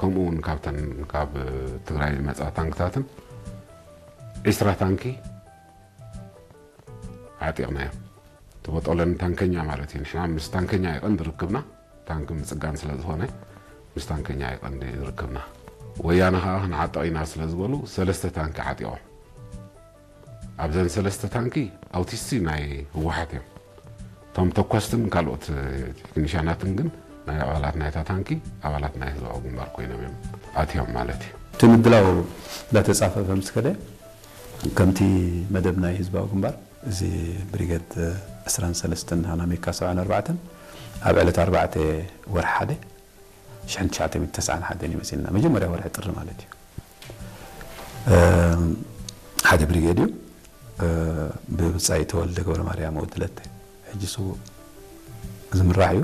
ከምኡ እውን ካብተን ካብ ትግራይ ዝመፃ ታንክታትን ዒስራ ታንኪ ዓጢቕናዮ። ተበጦለን ታንከኛ ማለት እዩ። ንሕና ምስ ታንከኛ ይቐንዲ ርክብና፣ ታንኪ ምፅጋን ስለ ዝኾነ ምስ ታንከኛ ይቐንዲ ርክብና። ወያነ ከዓ ክንዓጥቕ ኢና ስለ ዝበሉ ሰለስተ ታንኪ ዓጢቖም። ኣብዘን ሰለስተ ታንኪ ኣውቲስቲ ናይ ህወሓት እዮም። እቶም ተኳስትን ካልኦት ቴክኒሻናትን ግን ናይ ኣባላት ናይታ ታንኪ ኣባላት ናይ ህዝባዊ ግንባር ኮይኖም እዮም ኣትዮም ማለት እዩ። እቲ ምድላው እንዳተጻፈፈ ምስ ከደ ከምቲ መደብ ናይ ህዝባዊ ግንባር እዚ ብሪገድ ዕስራን ሰለስተን ሃናሚካ ሰብዓን ኣርባዕተን ኣብ ዕለት ኣርባዕተ ወርሒ ሓደ ሽሕን ትሽዓተ ሚእትን ተስዓን ሓደን እዩ መጺእና። መጀመርያ ወርሒ ጥሪ ማለት እዩ። ሓደ ብሪጌድ እዩ። ብብጻይ ተወልደ ገብረ ማርያም ወዲ ለተ ሕጂ ስዉእ ዝምራሕ እዩ።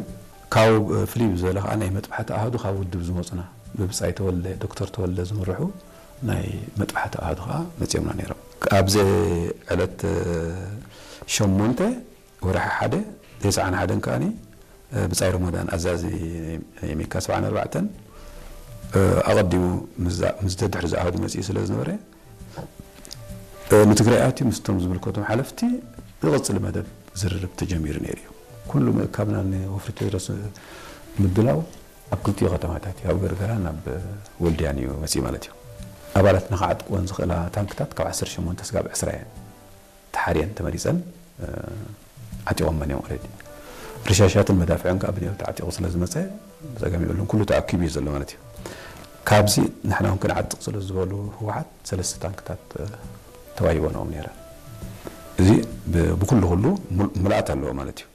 ካብኡ ፍልይ ብዝበለ ከዓ ናይ መጥባሕቲ ኣሃዱ ካብ ውድብ ዝመፁና ብብጻይ ተወልደ ዶክተር ተወልደ ዝምርሑ ናይ መጥባሕቲ ኣሃዱ ከዓ መፂኦምና ነይሮም። ኣብዚ ዕለት ሸሞንተ ወርሒ ሓደ ተስዓን ሓደን ከዓኒ ብጻይ ረመዳን ኣዛዚ የሜካ ሰብዓን ኣርባዕተን ኣቐዲሙ ምስ ደድሕሪ ዝኣሃዱ መፅኡ ስለ ዝነበረ ንትግራይ ኣትዩ ምስቶም ዝምልከቶም ሓለፍቲ ዝቐፅል መደብ ዝርርብ ተጀሚሩ ነይሩ እዩ። ኩሉ ምእካብና ንወፍሪ ቴድሮስ ምድላው ኣብ ክልቲኡ ከተማታት እዩ፣ ኣብ ገርገራን ኣብ ወልድያን እዩ መፅኡ ማለት እዩ። ኣባላትና ክዓጥቅወን ዝኽእላ ታንክታት ካብ ዓሰርተ ሸሞንተ ስጋብ ዕስራ እየን ተሓርየን ተመሪፀን ዓጢቖመን እዮም። ኦልሬዲ ርሻሻትን መዳፍዕን ከዓ ብንየው ተዓጢቑ ስለ ዝመፀ ብፀገም የብሉን፣ ኩሉ ተኣኪቡ እዩ ዘሎ ማለት እዩ። ካብዚ ንሕና እውን ክንዓጥቕ ስለ ዝበሉ ህወሓት ሰለስተ ታንክታት ተዋሂቦንኦም ነይረን። እዚ ብኩሉ ኩሉ ምልኣት ኣለዎ ማለት እዩ።